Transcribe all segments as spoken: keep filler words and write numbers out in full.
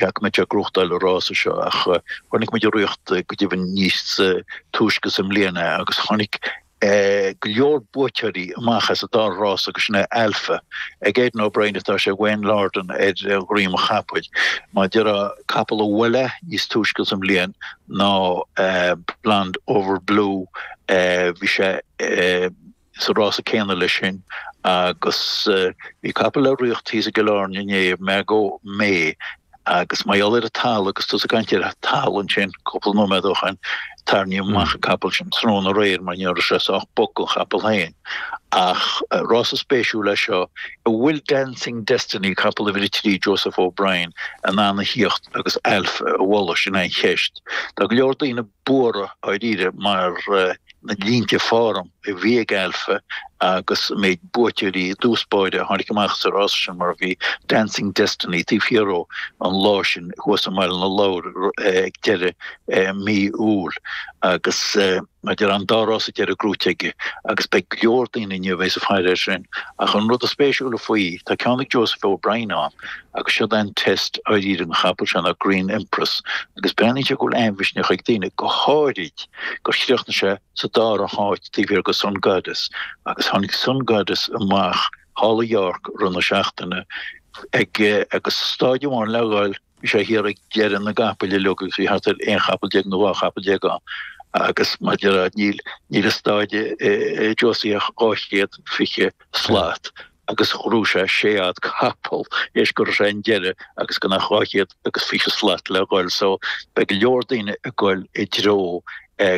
Go mbeidh sé ag gnóthachtáil an rása seo ach chonaic muid é ag ritheacht go deimhin níos túisce sa mbliana agus tháinig go leor buaiteoirí amach as an dá rás agus sin é Alpha. Ag Aidan O'Brien atá sé Wayne Lordan ar dhroim an chapaill. Mar a déarfá capall a bhuail é níos túisce sa mbliain ná Blonde Over Blue bhí sé sa rása céanna leis sin agus bhí capall le riocht thíos i gCill Airne inné, Margot May, agus mar gheall ar an talamh agus tusa ag caint ar an talamh ansin cúpla nóiméad ó shin, tarraingíodh amach an capall sin tráthnóna aréir mar ní raibh sé sách bog don chapall féin. Ach rása spéisiúil é seo, an bhfuil Dancing Destiny, capall uimhir a trí, Joseph O'Brien, in ann a thíocht agus Alpha a bhualadh, sin é an cheist. Tá go leor daoine buartha dháiríre mar na línte form a bhí ag Alpha agus an méid buaiteoirí i dtús báire a tháinig amach sa rás sin mar bhí Dancing Destiny taobh thiar dhó an lá sin thuas i mBaile na Lobhar ag deireadh mí Iúil agus mar a déarfá an dá rás deiridh gnóite aige agus beidh go leor daoine inniu a bheas ag faire air sin ach an rud is spéisiúla faoi tá ceann ag Joseph O'Brien ann agus siod é an test dáiríre an chapall seo ná Green Empress agus breathnaíonn sé go bhfuil an-mhisneach ag daoine go háirid gur chríochnaigh sé sa dara háit taobh thiar de Sun Goddess agus tháinig Sun Goddess amach thall i York i rith na seachtaine ag agus staid amháin le dhul bhí sé thiar ag deireadh na gcapaill uilig agus bhí thart ar aon chapall déag nó dhá chapall déag ann agus mar a déarfá níl níl an staid Josie ach dhá chéad fiche slat agus ghnóthaigh sé sé fhad capall théis go raibh sé an deireadh agus gan ach dhá chéad agus fiche slat le dhul so beidh go leor daoine ag goil i dtreo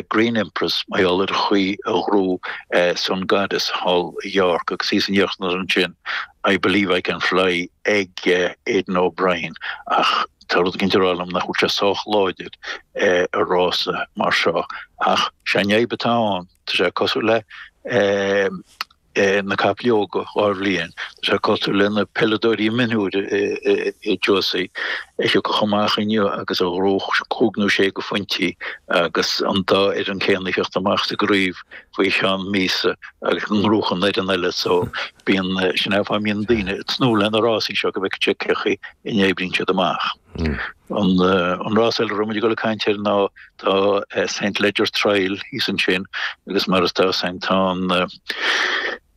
Green Empress mar gheall ar an chaoi a ghnóthaigh Sun Goddess thall i York agus thíos in íochtar ansin I Believe I Can Fly ag Aidan O'Brien ach tá rud éicint ag rá liom nach bhfuil sé sách láidir i rása mar seo ach sé an fhadhb atá ann tá sé cosúil le na capaill óga dhá bhliain. Tá sé cosúil le na peileadóirí mionúir i Josie a thiocfadh amach inniu agus a ghnóthódh cúig nó sé de phointí agus an dá fhoireann céanna ag theacht amach sa gcraobh faoi cheann míosa agus go ngnóthódh an fhoireann eile so bíonn, sin é an fáth a mbíonn daoine ag tnúth le na rásaí seo go bhfeicfidh siad cé chaoi a n-oibríonn siad amach. An an rás eile a raibh muid ag dul ag caint air ná tá Saint Leger Trial thíos ansin agus mar atá ann tá an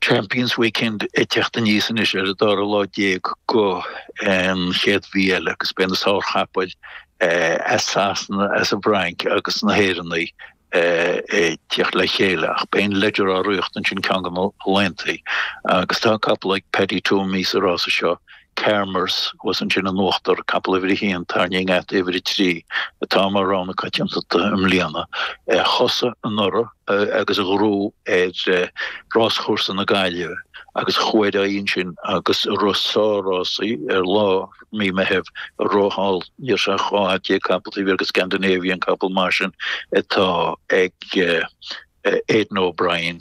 Champions Weekend ag teacht aníos anois ar an dara lá déag go an chéad mhí eile agus beidh na sárchapaill as Sasana, as an bhFrainc agus na hÉireannaigh ag teacht le chéile ach beidh an Leger á ritheacht ansin ceann de na laethanta agus tá capall ag Paddy Twomey sa rása seo Carmers thuas ansin in uachtar, capall uimhir a haon, tarraingthe i ngeata uimhir a trí, atá mar rogha na coitiantachta i mbliana. Thosaigh anuraidh agus a ghnóthaigh ar ráschúrsa na Gaillimhe agus chuaigh ar aghaidh ansin agus rith sár-rásaí ar lár mí Meithimh a rith thall, ní raibh sé ach dhá fhad déag capall taobh thiar de Scandinavian, capall maith sin atá ag Aidan O'Brien.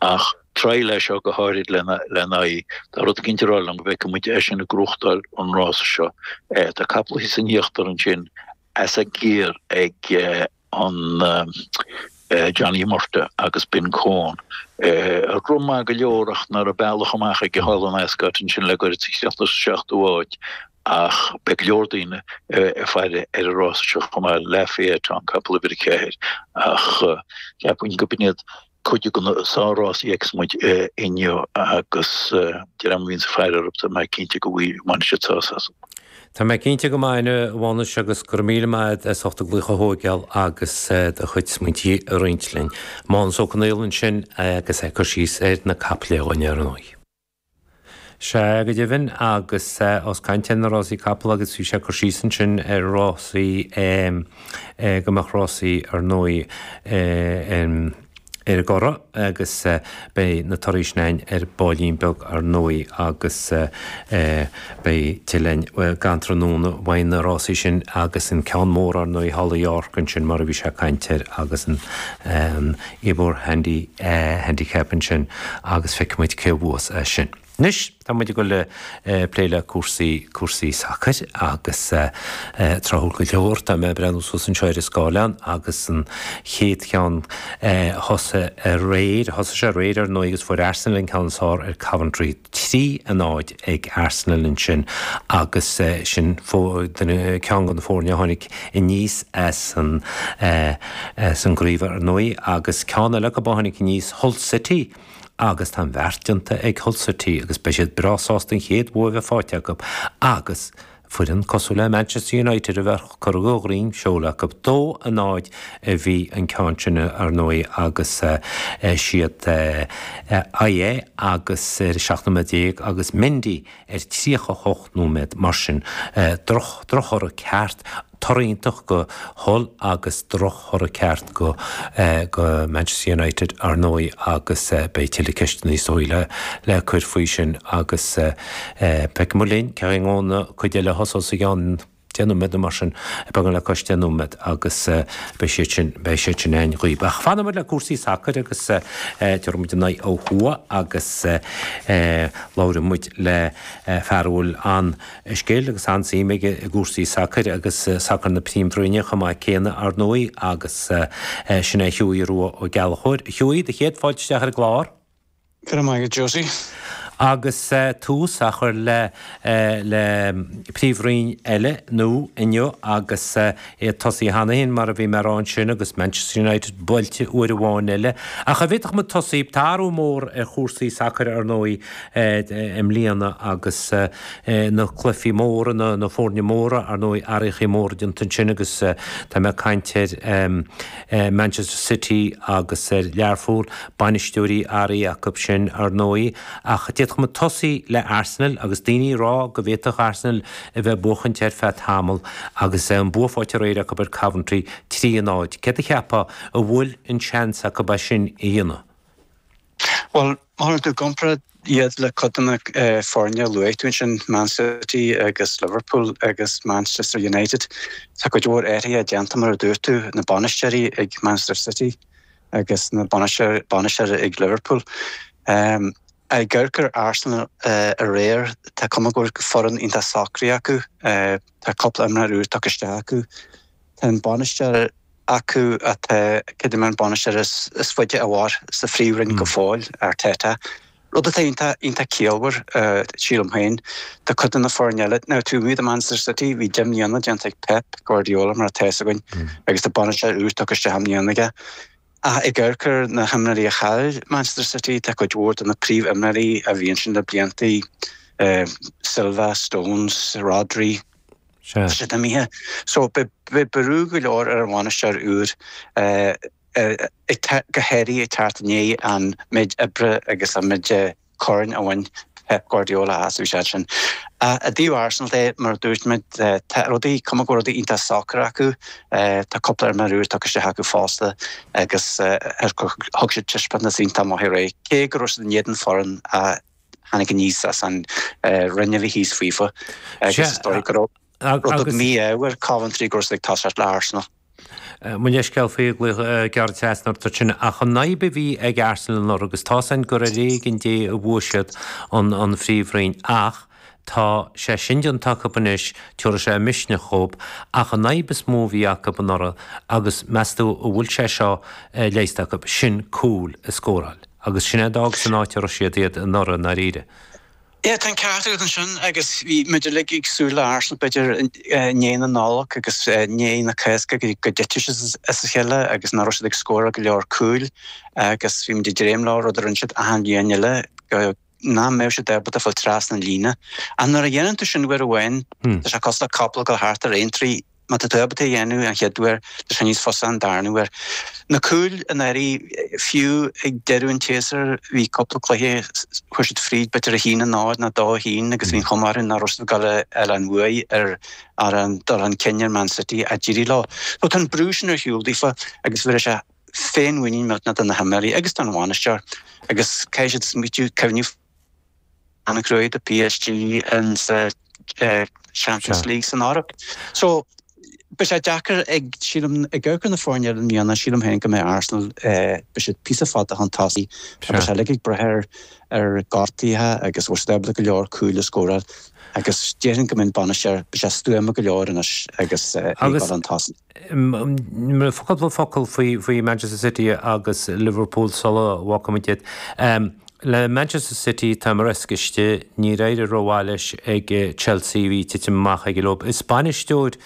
Ach trial é seo go háirid lena aghaidh. Tá rud éicint ag rá liom go bhfeicfidh muid eisean ag gnóthachtáil an rása seo. Tá capall thíos in íochtar ansin as a giar ag an Johnny Murtagh agus Ben Coen. Rith maith go leor ach ná raibh bealach amach aige thall in Ascot ansin le goirid sa chríochnaigh sa seachtú háit ach beidh go leor daoine ag faire ar an rása seo chomh maith. Lafayette an capall uimhir a ceathair ach cheapfainn go b'in iad cuid de na sár-rásaí a fheicfeas muid inniu agus de réir mar a bhíonns ag faire orthu tá mé cinnte go mbainfidh siad sásamh asam. Tá mé cinnte go mbainfidh, a Mhánais, agus go raibh míle maith agat as ucht an glaoch a thógáil agus do chuid smaointí a roinnt linn. Mánas Ó Conghaile ansin agus é ag cur síos ar na capaill dhúinn ar ndóigh. Sea, go deimhin, agus ós caint ar na rásaí capall agus bhí sé ag cur síos ansin ar rásaí, go mbeadh rásaí ar ndóigh ar an gCurrach agus beidh na torthaí sin againn ar baillín beag ar ndóigh agus beidh tuilleadh againn gan tráthnóna uaidh na rásaí sin agus an ceann mór ar ndóigh thall i York ansin mar a bhí sé ag caint air agus an Ebor Handy Handicap ansin agus feicfidh muid cé a bhuas é sin. Anois, tá muid ag dul le plé le cúrsaí, cúrsaí sacair agus tráthúil go leor, tá mé ag breathnú suas anseo ar an scáileán agus an chéad cheann thosaigh aréir, thosaigh sé aréir ar ndóigh agus fuair Arsenal an ceann is fearr ar Coventry, trí a náid ag Arsenal ansin agus sin ceann de na foirne a tháinig aníos as an as an gcraobh ar ndóigh agus ceann eile acu a tháinig aníos, Hull City. Agus tá an bheart déanta ag Hull City agus beidh siad breá sásta an chéad bhua a bheith faighte acu agus foireann cosúil le Manchester United a bheith curtha de dhroim seoil acu. Dó a náid a bhí an ceann sin ar ndóigh agus siad Ayew agus ar seacht nóiméad déag agus Mendy ar tríocha a hocht nóiméad mar sin droch drochthoradh ceart. Toradh iontach go Hull agus drochthoradh ceart go go Manchester United ar ndóigh agus beidh tuilleadh ceisteanna is dóigh le le cur faoi sin agus feicfidh muid linn cén chaoi an cuid eile a thosós i gceann deich nóiméad nó mar sin, beagán le cois deich nóiméad agus beidh siad sin beidh siad sin againn dhaoibh. Ach fanfaidh muid le cúrsaí sacair agus tabharfaidh muid an aghaidh ó thuaidh agus labhróidh muid le fear a bhfuil an scil agus an-suim aige i gcúrsaí sacair agus sacar na Príomhroinne chomh maith céanna, ar ndóigh, agus sin é Hughie Rua Ó Gallchóir. A Hughie, do chéad fáilte isteach ar an gclár. Go raibh maith agat, Josie. Agus tús á chur le le Príomhroinn eile nua inniu agus é ag tosaí cheana féin mar a bhí mé a rá ansin agus Manchester United buailte uair amháin eile. Ach an bhféadfadh muid tosaí, tá athrú mór ar chúrsaí sacair ar ndóigh i mbliana agus na cluichí móra, na foirne móra, ar ndóigh athraíochaí móra déanta ansin agus tá mé ag caint ar Manchester City agus ar Learpholl, bainisteoirí athraithe acu sin ar ndóigh ach d'fhéadfadh muid tosaí le Arsenal agus daoine ag rá go bhféadfadh Arsenal a bheith ag buachaint ar feadh tamall agus an bua faighte aréir acu ar Coventry trí a náid. Céard a cheapfá an bhfuil an seans acu é sin a dhéanamh? Bhuel, má chuireann tú i gcomparáid iad le cuid de na foirne a luaigh tú ansin, Man City agus Liverpool agus Manchester United, tá cuid mhór athruithe déanta mar a dúirt tú, na bainisteoirí ag Manchester City agus na bainisteoirí ag Liverpool. Ag amharc ar Arsenal aréir, tá cuma go bhfuil foireann iontach socraithe acu. Tá cúpla imreoir úr tugtha isteach acu. Tá an bainisteoir acu atá, creidim an bainisteoir is faide a mhair sa Phríomhroinn go fóill, Arteta. Rud atá iontach, iontach ciallmhar, sílim féin. Tá cuid de na foirne eile, now taobh amuigh de Manchester City, bhí deich mbliana déanta ag Pep Guardiola mar atá fhios againn agus tá bainisteoir úr tugtha isteach i mbliana aige. Ach ag amharc ar na himreoirí a chaill Manchester City, tá cuid mhór de na príomhimreoirí a bhí ansin le blianta, Silva, Stones, Rodri, tá siad imithe. So beidh brú go leor ar an bhainisteoir úr, go háirithe ag teacht i ndiaidh an méid oibre agus an méid coirn a bhain Pep Guardiola as úsáid sin. I dtaobh Arsenal de, mar a dúirt muid, tá rudaí, cuma go bhfuil rudaí iontach socair acu. Tá cúpla imreoir úr tugtha isteach acu fosta agus thug siad taispeántas iontach maith aréir, cé go raibh siad in éadan foireann a tháinig aníos as an roinn a bhí thíos faofa agus is dóigh go raibh rud beag mí-ádh ar Coventry go raibh siad ag toiseacht le Arsenal. Mo leithscéal faoi ghlaoch gearr trasna ort ansin, ach an fhadhb a bhí ag Arsenal anuraidh, agus tá's againn gur ar éigean Dé a bhuaigh siad an an Phríomhroinn, ach tá sé sin déanta acu anois, tabharfaidh sé misneach dhóibh, ach an fhadhb is mó a bhí acu anuraidh, agus meas tú an bhfuil sé seo leigheasta acu, sin cúil a scóráil. Agus sin é a d'fhág san áit a raibh siad iad anuraidh i ndáiríre. Yeah, tá an ceart agat ansin agus bhí muid uilig ag súil le Arsenal b'fhéidir i ndiaidh na Nollag agus i ndiaidh na Cásca go dtitfeadh siad as a chéile agus nach raibh siad ag scóráil go leor cúil agus bhí muid ag dréim leo, rud a rinne siad achan bhliain eile, go nach mbeadh siad ábalta fáil trasna an líne. Ach nuair a dhéanann tú sin uair amháin, tá sé cosúil le capall ag dul thart ar aontraí. Má tá tú ábalta é a dhéanamh an chéad uair, tá sé níos fusa an darna huair. Na cúil anuraidh, fiú ag deireadh an tséasúir, bhí cúpla cluiche, chuaigh siad fríd b'fhéidir a haon a náid nó dó a haon agus bhí an chuma orthu nach raibh siad ag dul a fháil an bhuaidh ar ar an dul chun cinn ar Man City ach d'éirigh leo. So tá an brú sin ar shiúl daofa agus bheir sé féinmhuinín millteanach do na himreoirí agus don bhainisteoir agus caithfidh siad smaoitiú, cuimhneamh, an-chruaidh do PSG in sa Champions League san Eoraip. So Beidh sé deacair ag, sílim, ag amharc ar na foirne eile i mbliana, sílim féin go mbeidh Arsenal, beidh siad píosa fada chun tosaigh agus beidh sé uilig ag brath ar ar gortuithe agus bhfuil siad ábalta go leor cúil a scóráil agus déarfainn go mbeidh an bainisteoir, beidh sé stuama go leor anois agus é ag dul chun tosaigh. Agus cúpla focal faoi faoi Manchester City agus Liverpool sula bhfágfaimid iad. Le Manchester City, tá Maresca istigh, níor éirigh rómhaith leis ag Chelsea, bhí titim amach aige leo. Is bainisteoir